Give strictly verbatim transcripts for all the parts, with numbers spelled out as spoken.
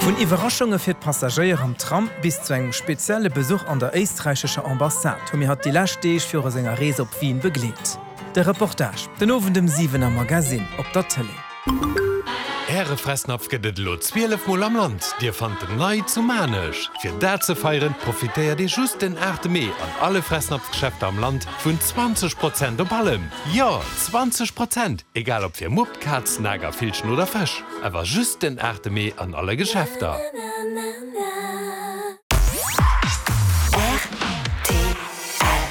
Vun Iwwerraschunge fir d'Passagéier am Tram bis zu engem spezielle Besuch an der éisträichescher Ambassade hu mir hatt déi lescht Deeg viru senger Rees op Wien begleet. De Reportage den Owend um siwen am Magasinn op der Tëlee. Äre Fressnapf gëtt et elo zwielef Mol am Land. Dir fannt en nei zu Maarnech. Fir dat ze feieren, profitéiert Dir just den aachte Mee an alle Fressnapf-Geschäfter am Land vun zwanzeg Prozent op allem. Jo, zwanzeg Prozent! Egal ob fir Mupp, Kaz, Nager, Villchen oder Fësch. Awer just den aachte Mee an alle Geschäfter.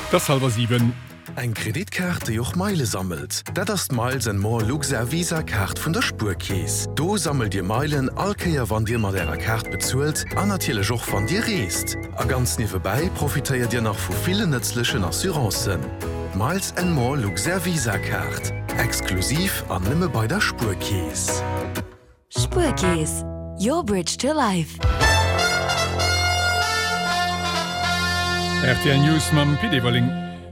Et ass hallwer siwen. Eng Kreditkaart, déi och Meile sammelt? Dat ass d'Miles and More Luxair Visa Kaart vun der Spuerkeess. Do sammelt Dir Meilen all Kéier wann Dir mat Ärer Kaart bezuelt an natierlech och wann Dir reest. A ganz niewebäi profitéiert Dir nach vu villen nëtzlechen Assurancen. D'Miles and More Luxair Visa Kaart, exklusiv an nëmme bei der Spuerkeess. Spuerkeess, your bridge to life. Rtl News mam Pit Everling.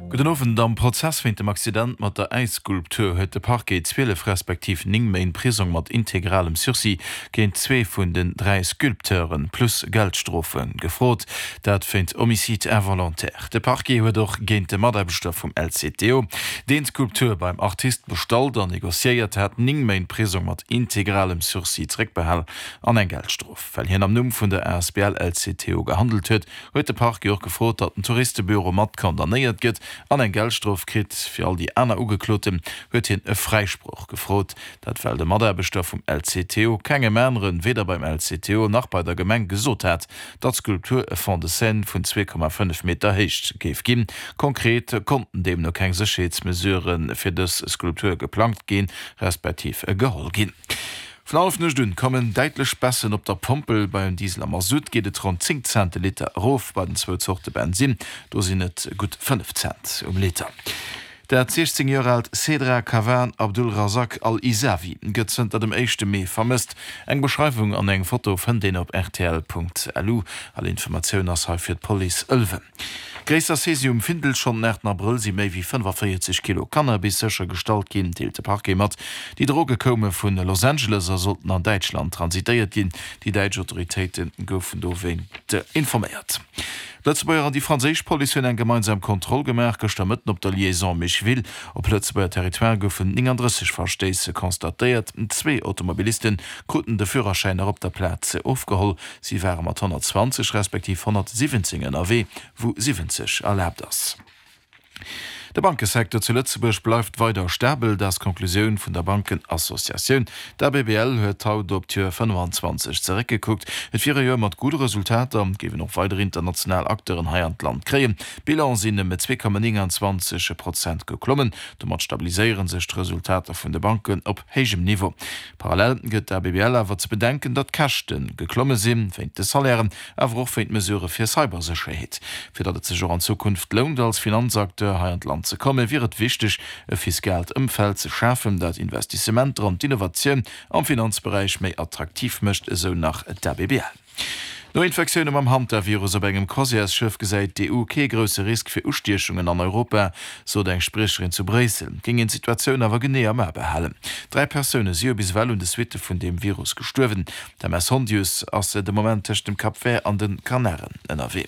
Gudden Owend. Am Prozess wéint dem Accident mat der Äisskulptur huet de Parquet zwielef respektiv néng Méint Prisong mat integralem Sursis géint zwee vun den dräi Sculpteure plus Geldstrofe gefrot. Dat wéint Homicide involontaire. De Parquet huet och géint de Mataarbechter vum L C T O, deen d'Skulptur beim Artist bestallt an negociéiert hat, néng Méint Prisong mat integralem Sursis zeréckbehal an eng Geldstrof. Well hien am Numm vun der asbl L C T O gehandelt huet, huet de Parquet och gefrot, datt den Touristebüro mat condamnéiert gëtt an eng Geldstrof kritt. Fir all déi aner Ugekloten huet hien e Fräisproch gefrot. Dat well de Mataarbechter vum L C T O kengem aneren, weder beim L C T O nach bei der Gemeng gesot hat, datt d'Skulptur e Fond de scène vun zwee Komma fënnef Meter Héicht géif ginn. Konkret konnten deemno keng Sécherheetsmesurë fir dës Skulptur geplangt ginn, respektiv geholl ginn. Vun Hallefnuecht un kommen däitlech Baissen op der Pompel. Beim Diesel a Masutt geet et ronn zéng Cent de Liter erof, bei den zwou Zorte Bensinn, do sinn et gutt fënnef Cent um Liter. Dat siechzéng Joer aalt Sedra Kawan Abdulrazak Al-Isawi gëtt zënter dem éischte Mee vermësst. Eng Beschreiwung an eng Foto fënnt een op rtl Punkt lu. All Informatioun ass hei fir d'Police Ëlwen. Gréisser Saisie um Findel, Schonn den aachten Abrëll si méi wéi fënnefavéierzeg Kilo Cannabis séchergestallt ginn, deelt de Parquet mat. Déi Droge koume vu Los Angeles a sollten an Däitschland transitéiert ginn. Déi däitsch Autoritéite goufen dowéint informéiert. D'Lëtzebuerger an déi franséisch Police hunn eng gemeinsam Kontroll gemaach gëschter Mëtten op der Liaison Micheville. Op Lëtzebuerger Territoire goufen nénganddrësseg Verstéiss constatéiert. Zwee Automobiliste kruten de Führerschäin nach op der Plaz ofgeholl. Si ware mat honnertzwanzeg respektiv honnertsiwwenzéng ënnerwee, wou siwwenzeg erlaabt ass. De Bankesecteur zu Lëtzebuerg bleift weider stabel, dat ass d'Konklusioun vun der Bankenassociatioun. D'A B B L huet haut op d'Joer fënnefanzwanzeg zeréckgekuckt. Et wier e Joer mat gudde Resultater, et géif een och weider international Acteuren hei an d'Land kréien. D'Bilan sinn ëm zwee Komma nénganzwanzeg Prozent geklommen. Domat stabiliséiere sech d'Resultater vun de Banken op héijem Niveau. Parallel gëtt d'A B B L awer ze bedenken, datt d'Käschte geklomme sinn, wéint de Salairen, awer och wéint Mesurë fir Cybersécherheet. Fir datt et sech och an Zukunft lount, als Finanzacteur hei an d'Land ze kommen, wier et wichteg, e fiskaalt Ëmfeld ze schafen, dat Investissementer an d'Innovatioun am Finanzberäich méi attraktiv mécht, esou nach d'A B B L. No Infektioune mam Hantavirus op engem Croisièresschëff gesäit d'E U kee grousse Risk fir Ustiechungen an Europa, sot eng Spriecherin zu Bréissel. Et géing een d'Situatioun awer genee am A behalen. Dräi Persoune si jo bis ewell un de Suitte vun deem Virus gestuerwen. D'M S Hondius ass de Moment tëscht dem Cap Vert an de Kanaren ënnerwee.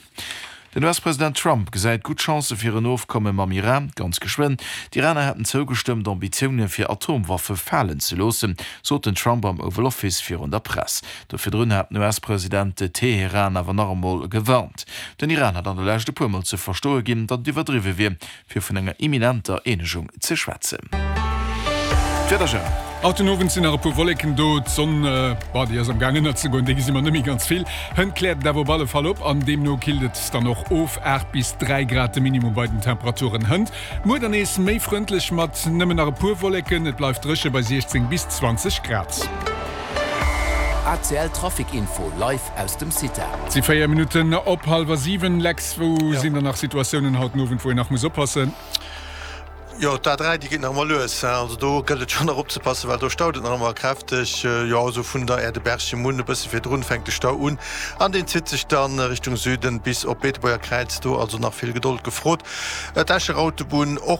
Den U S-President Trump gesäit gutt Chancë fir en Ofkomme mam Iran, ganz geschwënn. D'Iraner hätten zougestëmmt, Ambitioune fir Atomwaffe falen ze loossen, sot den Trump am Oval Office virun der Press. Do virdrun hat den U S-President Teheran awer nach emol gewarnt. Den Iran hat an der Lescht e puer Mol ze verstoe ginn, datt et iwwerdriwwe wier, fir vun enger imminenter Eenegung ze schwätzen. D'Wieder, Jérôme. Haut den Owend sinn nach e puer Wolleken do, d'Sonn, bah, déi ass am Gaang ënnerzegoen, déi gesi mer net méi ganz vill. Hënt kläert et awer op alle Fall op an deemno killt et dann och of, aacht bis dräi Grad de Minimum bei den Temperaturen hënt. Muer dann nees méi frëndlech mat nëmmen nach e puer Wolleken, et bleift dréche bei siechzéng bis zwanzeg Grad. A C L Trafic Info live aus dem CITA. Et si véier Minutten op hallwer siwen. Lex, wou sinn dann nach Situatiounen haut den Owend, wou een nach muss oppassen? Jo, d'A dräi, déi geet nach ëmmer lues, hein. Also do gëllt et schonn nach opzepassen, well do staut et nach ëmmer kräfteg. Jo, esou vun der Aire de Berchem un, e bësse virdrun fänkt de Stau un an deen zitt sech dann Richtung Süden bis op Beetebuerger Kräiz. Do also nach vill Gedold gefrot. D'Escher Autobunn och.